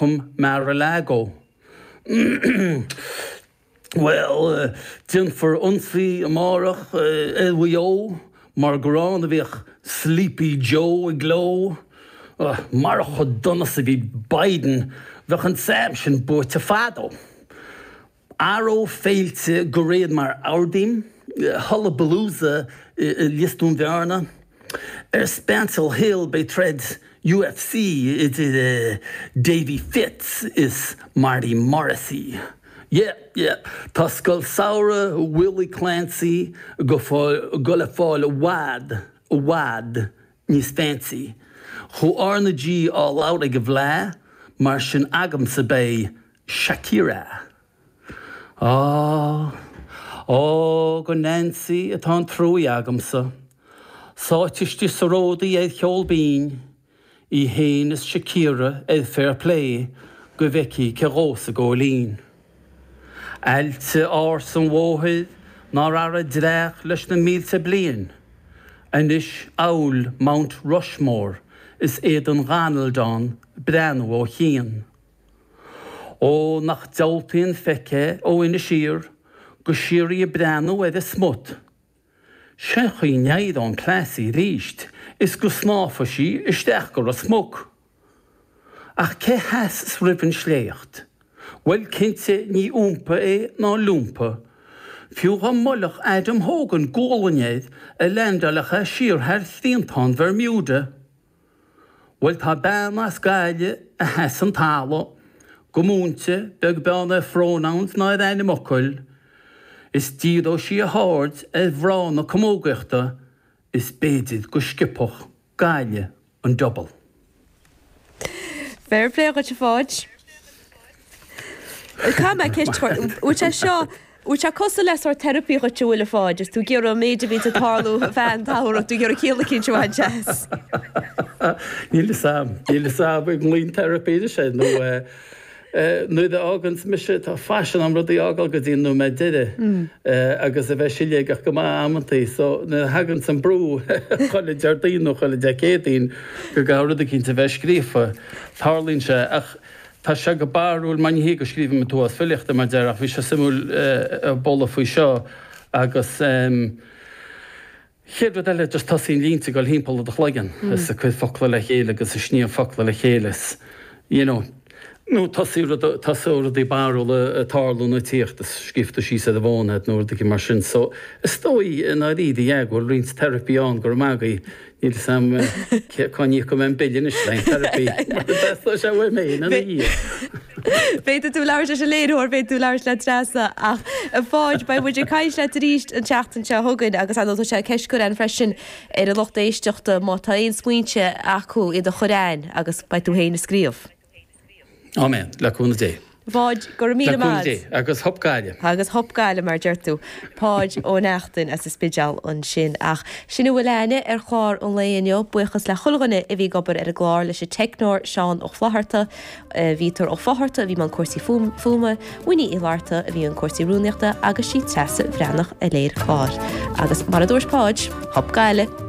Welcome Mar-a-Lago. Bhuel, déanfar ionsaí amárach ar Mhaigh Eo mar gur ann a bhíodh Sleepy Joe i gcló. Marach chomh dona is a bhí Biden, bheadh an t-arm sin buaite fadó. Athróidh féilte go réidh mar Ardaím, Hullabalooza i Lios Dúin Bhearna. Ar Spancil Hill beidh troid UFC idir Davy Fitz is Marty Morrissey. Yeah, yeah, tá Scoil Samhraidh Willie Clancy ag goil a fáil i bhfad, i bhfad níos fancy. Chuaigh R na G all out ag an bhFleadh, mar sin agamsa beidh Shakira. Á, á, go Nancy atá an truaí agamsa. Sáite istigh sa ród í ar cheol binn, í fhéin is Shakira ar fair play go bhfeicfí cé dhósa góilín. Aillte ársa an bhóthair nár athraigh dreach leis na mílte bliain, anois amhail Mount Rushmore is éadan Dhonald ann breathnú ó chian. Ó, nach diabhaltaí an feic é ó Inis Oírr go síoraí ag breathnú ar an smut. Sén chaoi n-éireodh an cleasaí aríst is go snámhfadh sí isteach go Ros Muc. Ach cé sheasas roimh an sléacht? Bhuel, cinnte ní umpa é ná lúmpa. Fiú dhá mbuailfeadh Adam Hogan gualainn air a leaindeáilfeadh é siar thar thriantán Bhermuda. Bhuel tá bean as Gaillimh a sheas an talamh, go múinte, beag beann ar phronouns ná ar ainmfhocail, is díreoidh sí a haird ar mhná na camógaíochta is b'fhéidir go sciobfadh Gaillimh an double. Fair play dhuit a Pháid. Caithfidh mé ceist a chur, bhfuil sé seo, bhfuil sé cosúil le sórt therapy dhuit an bhfuil a Pháid, is tú ag iarraidh an méid a bhíonns ag tarlú feadh an tsamhraidh, tú ag iarraidh ciall eicínt a bhaint as. Níl fhios a'm, níl fhios a'm an nglaoinn therapy anois air nó nuair a fháganns mise, tá faisean a'm rudaí a fhágáil go dtí an nóiméad deiridh agus a bheith siléigeach go maith amantaí so nuair a thaganns an brú chuile Déardaoin nó chuile Dé Céadaoin go gcaithfidh rud eicínt a bheith scríofa, tarlaíonn sé ach Tá sé go barrúil mar ní hé go scríobhaim an t-uafás filíochta mar deir ach bhí sé suimiúil bualadh faoi seo agus chéad rud eile just tosaíonn línte ag dul thimpeall i do chloigeann is ag cur focla le chéile agus ag sníomh focla le chéile is you know nó tosaíonn rud tosóidh rudaí barrúla ag tarlú nó ag tíocht is scríobh tú síos ar an bhfón iad nó rud éigin mar sin so is dóigh i ndáiríre yeah go bhfuil roinnt therapy ann go raibh maith agaibh Níl fhios a'm cá n-íocfaidh mé an bille anois le haghaidh therapy mar theastaigh sé uaim féin ina dhiaidh. Féadfaidh tú labhairt leis an léiritheoir, féadfaidh tú labhairt le Treasa ach a Pháid, beidh muid ag caint leat arís an tseachtain seo chugainn agus ar ndóigh tá sé ceist curtha againn freisin ar an lucht éisteachta má tá aon smaointe acu iad a chur chugainn agus beidh tú féin ag scríobh. Áiméan, le cúnamh Dé. A Pháid, go raibh míle Le cúnamh maith. Dé, agus hup Gaillimh. Agus hup Gaillimh, mar a deir tú. Páid Ó Neachtain as an Spidéal ansin. Ach sin a bhfuil a'inne ar chlár an lae inniu. Buíochas le chuile dhuine a bhí ag obair ar an gclár, leis an teicneoir Seán Ó Flatharta, Víotar Ó Fátharta a bhí i mbun cúrsaí fuaime, Winnie Uí Fhlatharta a bhí i mbun cúrsaí rúnaíochta agus sí Treasa Bhreathnach a léirigh an clár. Agus mar a dúirt Páid, hup Gaillimh!